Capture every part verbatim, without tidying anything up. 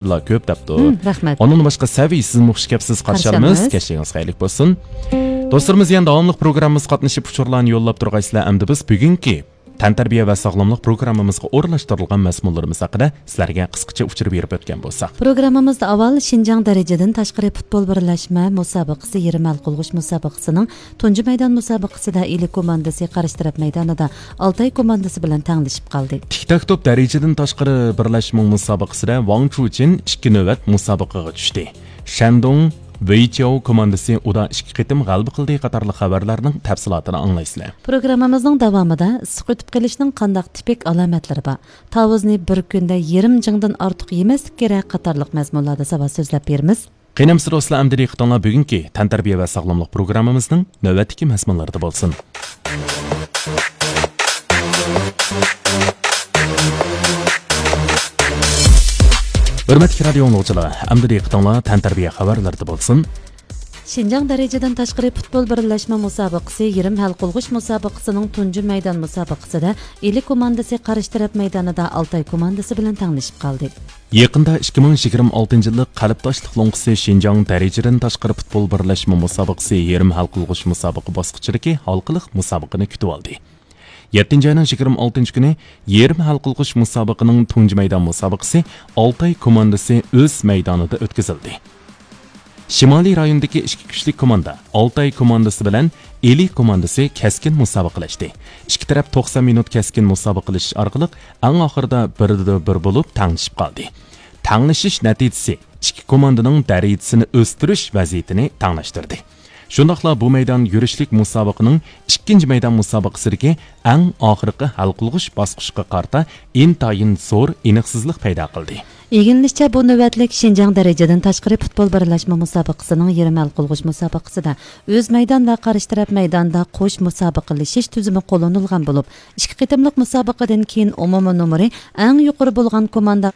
لا كۆپ دەپتۇ. ھىم، رەھمەت. ئۇنىڭدىن باشقا سەۋىي، سىزمۇ خۇش كەپسىز، قارشى قارشى ئالىمىز. ئالىمىز. كەچلىكىڭىز خەيرلىك بولسۇن. دوستلىرىمىز، يەنە داۋاملىق پروگراممىمىزغا قاتنىشىپ ئۇچۇرلارنى يوللاپ تۇرغايسىلەر. ئەمدى بىز بۈگۈنكى تەنتەربىيە ۋە ساغلاملىق پروگراممىمىزغا ئورۇنلاشتۇرۇلغان مەزمۇنلىرىمىز ھەققىدە سىلەرگە قىسقىچە ئۇچۇر بېرىپ ئۆتكەن بولساق. پروگراممىمىزدا ئاۋۋال شىنجاڭ دەرىجىدىن تاشقىرى پۇتبول بىرلەشمە مۇسابىقىسى يېرىم ھەل قىلغۇچ مۇسابىقىسىنىڭ تۇنجى مەيدان مۇسابىقىسىدە ئىلى كوماندىسى قارشى تەرەپ مەيدانىدا ئالتاي كوماندىسى بىلەن تەڭلىشىپ قالدى. تىك تاك توپ دەرىجىدىن تاشقىرى بىرلەشمە مۇسابىقىسىدە ۋاڭ چۇچىن ئىككى نۆۋەت مۇسابىقىگە چۈشتى. شەندۇڭ ۋېيچياۋ كوماندىسى ئۇدا ئىككى قېتىم غەلىبە قىلدى قاتارلىق خەۋەرلەرنىڭ تەپسىلاتىنى ئاڭلايسىلەر. پروگراممىمىزنىڭ داۋامىدا ئىسسىق ئۆتۈپ قېلىشنىڭ قانداق تىپىك ئالامەتلىرى بار، تاۋۇزنى بىر كۈندە يېرىم جىڭدىن ئارتۇق يېمەسلىك كېرەك قاتارلىق مەزمۇنلاردا ساۋات سۆزلەپ بېرىمىز. قېنى ئەمىسە دوستلار، ئەمدى دىققىتىڭلار بۈگۈنكى تەنتەربىيە ۋە ساغلاملىق پروگراممىمىزنىڭ نۆۋەتتىكى مەزمۇنلىرىدا بولسۇن. ھۆرمەتلىك رادىيو ئاڭلىغۇچىلار، ئەمدى دىققىتىڭلار تەنتەربىيە خەۋەرلىرىدە بولسۇن. شىنجاڭ دەرىجىدىن تاشقىرى پۇتبول بىرلەشمە مۇسابىقىسى يېرىم ھەل قىلغۇچ مۇسابىقىسىنىڭ تۇنجى مەيدان مۇسابىقىسىدە ئىلى كوماندىسى قارشى تەرەپ مەيدانىدا ئالتاي كوماندىسى بىلەن تەڭلىشىپ قالدى. يېقىندا ئىككى مىڭ يىگىرمە ئالتىنچى يىللىق قەلبداشلىق لوڭقىسى شىنجاڭ دەرىجىدىن تاشقىرى پۇتبول بىرلەشمە مۇسابىقىسى يېرىم ھەل قىلغۇچ مۇسابىقە باسقۇچىدىكى ھالقىلىق مۇسابىقىنى كۈتۈۋالدى. يەتتىنچى ئاينىڭ يىگىرمە ئالتىنچى كۈنى يېرىم ھەل قىلغۇچ مۇسابىقىنىڭ تۇنجى مەيدان مۇسابىقىسى ئالتاي كوماندىسى ئۆز مەيدانىدا ئۆتكۈزۈلدى. شىمالىي رايوندىكى ئىككى كۈچلۈك كوماندا ئالتاي كوماندىسى بىلەن ئىلى كوماندىسى كەسكىن مۇسابىقىلەشتى. ئىككى تەرەپ توقسان مىنۇت كەسكىن مۇسابىقىلىشىش ئارقىلىق ئەڭ ئاخىرىدا بىردە بىر بولۇپ تەڭلىشىپ قالدى. تەڭلىشىش نەتىجىسى ئىككى كوماندىنىڭ دەرىجىسىنى ئۆستۈرۈش ۋەزىيىتىنى تەڭلەشتۈردى. شۇنداقلا بۇ مەيدان يۈرۈشلۈك مۇسابىقىنىڭ ئىككىنچى مەيدان مۇسابىقىسىدىكى ئەڭ ئاخىرقى ھەل قىلغۇچ باسقۇچقا قارىتا ئىنتايىن زور ئېنىقسىزلىق پەيدا قىلدى. ئىگىلىنىشىچە، بۇ نۆۋەتلىك شىنجاڭ دەرىجىدىن تاشقىرى پۇتبول بىرلەشمە مۇسابىقىسىنىڭ يېرىم ھەل قىلغۇچ مۇسابىقىسىدە ئۆز مەيدان ۋە قارشى تەرەپ مەيدانىدا قوش مۇسابىقىلىشىش تۈزۈمى قوللىنىلغان بولۇپ، ئىككى قېتىملىق مۇسابىقىدىن كېيىن ئومۇمىي نومۇرى ئەڭ يۇقىرى بولغان كوماندا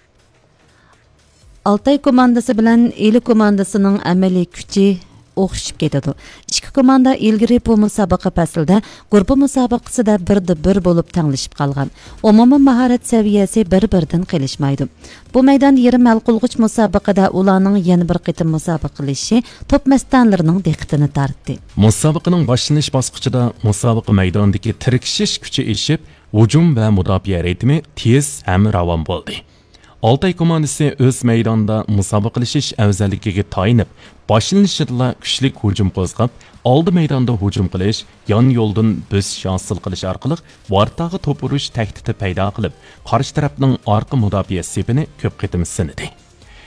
ئالتاي كوماندىسى بىلەن ئىلى كوماندىسىنىڭ ئەمەلىي كۈچى ئوخشىشىپ كېتىدۇ. ئىككى كوماندا ئىلگىرى بۇ مۇسابىقە پەسلىدە گۇرۇپپا مۇسابىقىسىدە بىردە بىر بولۇپ تەڭلىشىپ قالغان. ئومۇمىي ماھارەت سەۋىيەسى بىر-بىرىدىن قېلىشمايدۇ. بۇ مەيدان يېرىم ھەل قىلغۇچ مۇسابىقىدە ئۇلارنىڭ يەنە بىر قېتىم مۇسابىقىلىشىشى توپ مەستانىلىرىنىڭ دىققىتىنى تارتتى. مۇسابىقىنىڭ باشلىنىش باسقۇچىدا مۇسابىقە مەيدانىدىكى تىركىشىش كۈچى ئېشىپ، ھۇجۇم ۋە مۇداپىئە رىتىمى تېز ھەم راۋان بولدى. ئالتاي كوماندىسى ئۆز مەيدانىدا مۇسابىقىلىشىش ئەۋزەللىكىگە تايىنىپ، باشلىنىشىدىلا كۈچلۈك ھۇجۇم قوزغاپ، ئالدى مەيداندا ھۇجۇم قىلىش، يان يولدىن بۆسۈش ھاسىل قىلىش ئارقىلىق ۋارتاغا توپ ئۇرۇش تەھدىتى پەيدا قىلىپ، قارشى تەرەپنىڭ ئارقا مۇداپىئە سېپىنى كۆپ قېتىم سىنىدى.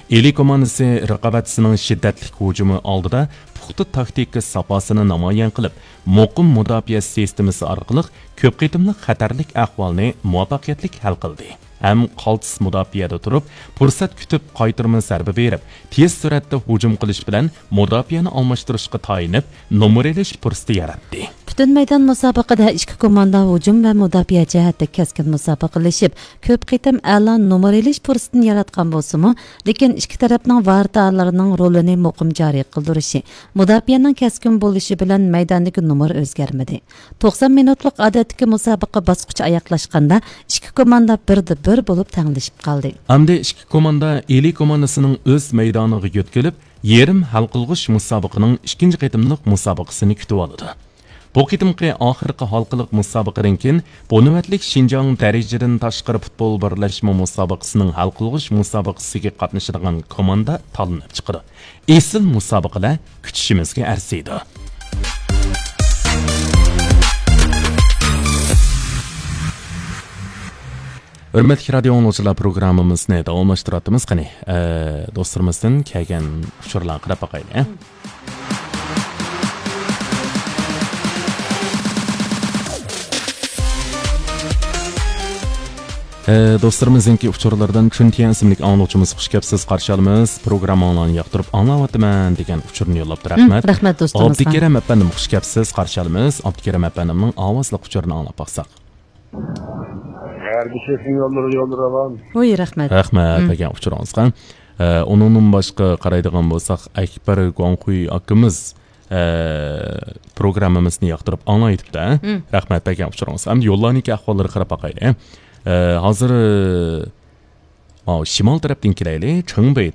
ئىلى كوماندىسى رىقابەتچىسىنىڭ شىددەتلىك ھۇجۇمى ئالدىدا پۇختا تاكتىكا ساپاسىنى نامايان قىلىپ، مۇقىم مۇداپىئە سىستېمىسى ئارقىلىق كۆپ قېتىملىق خەتەرلىك ئەھۋالنى مۇۋەپپەقىيەتلىك ھەل قىلدى. ھەم قالتىس مۇداپىئەدە تۇرۇپ، پۇرسەت كۈتۈپ قايتۇرما زەربە بېرىپ، تېز سۈرئەتتە ھۇجۇم قىلىش بىلەن مۇداپىئەنى ئالماشتۇرۇشقا تايىنىپ، نومۇر ئېلىش پۇرسىتى ياراتتى. پۈتۈن مەيدان مۇسابىقىدە ئىككى كوماندا ھۇجۇم ۋە مۇداپىئە جەھەتتە كەسكىن مۇسابىقىلىشىپ، كۆپ قېتىم ئەلا نومۇر ئېلىش پۇرسىتىنى ياراتقان بولسىمۇ، لېكىن ئىككى تەرەپنىڭ ۋارتالىرىنىڭ رولىنى مۇقىم جارى قىلدۇرۇشى، مۇداپىئەنىڭ كەسكىن بولۇشى بىلەن مەيداندىكى نومۇر ئۆزگەرمىدى. توقسان مىنۇتلۇق ئادەتتىكى مۇسابىقە باسقۇچى ئاياغلاشقاندا، ئىككى كوماندا بىردە بىر بولۇپ تەڭلىشىپ قالدى. ئەمدى ئىككى كوماندا ئىلى كوماندىسىنىڭ ئۆز مەيدانىغا يۆتكىلىپ، يېرىم ھەل قىلغۇچ مۇسابىقىنىڭ ئىككىنچى قېتىملىق مۇسابىقىسىنى كۈتۈۋالىدۇ. بۇ قېتىمقى ئاخىرقى ھالقىلىق مۇسابىقىدىن كېيىن، بۇ نۆۋەتلىك شىنجاڭ دەرىجىدىن تاشقىرى پۇتبول بىرلەشمە مۇسابىقىسىنىڭ ھەل قىلغۇچ مۇسابىقىسىگە قاتنىشىدىغان كوماندا تاللىنىپ چىقىدۇ. ئېسىل مۇسابىقىلەر كۈتۈشىمىزگە ئەرزىيدۇ. ھۆرمەتلىك رادىيو ئاڭلىغۇچىلار، پروگراممىمىزنى داۋاملاشتۇرۇۋاتىمىز. قېنى، ئە، دوستلىرىمىزدىن كەلگەن ئۇچۇرلارغا قاراپ باقايلى. ئە، دوستلىرىمىزنىڭكى ئۇچۇرلىرىدىن چۈن تيەن ئىسىملىك ئاڭلىغۇچىمىز خۇش كەپسىز، قارشى ئالىمىز. پروگرامماڭلارنى ياقتۇرۇپ ئاڭلاۋاتىمەن دېگەن ئۇچۇرنى يوللاپتۇ. رەھمەت. رەھمەت دوستىمىزغا. ئابدۇكېرەم ئەپەندىم خۇش كەپسىز، قارشى ئالىمىز. ئابدۇكېرەم ئەپەندىمنىڭ ئاۋازلىق ئۇچۇرىنى ئاڭلاپ باقساق. غەربىي شېخىڭ يوللىرى يوللىرى راۋان. ۋۇي، رەھمەت. رەھمەت بەرگەن ئۇچۇرىڭىزغا. ئە، ئۇنىڭدىن باشقا قارايدىغان بولساق، ئەكبەر گۇاڭخۇي ئاكىمىز، ئە، پروگراممىمىزنى ياقتۇرۇپ ئاڭلايتىپتۇ. رەھمەت بەرگەن ئۇچۇرىڭىزغا. ئەمدى يوللارنىڭكى ئەھۋاللىرىغا قاراپ باقايلى. ئە، ھازىر، ماۋۇ شىمال تەرەپتىن كېلەيلى، چىڭبېي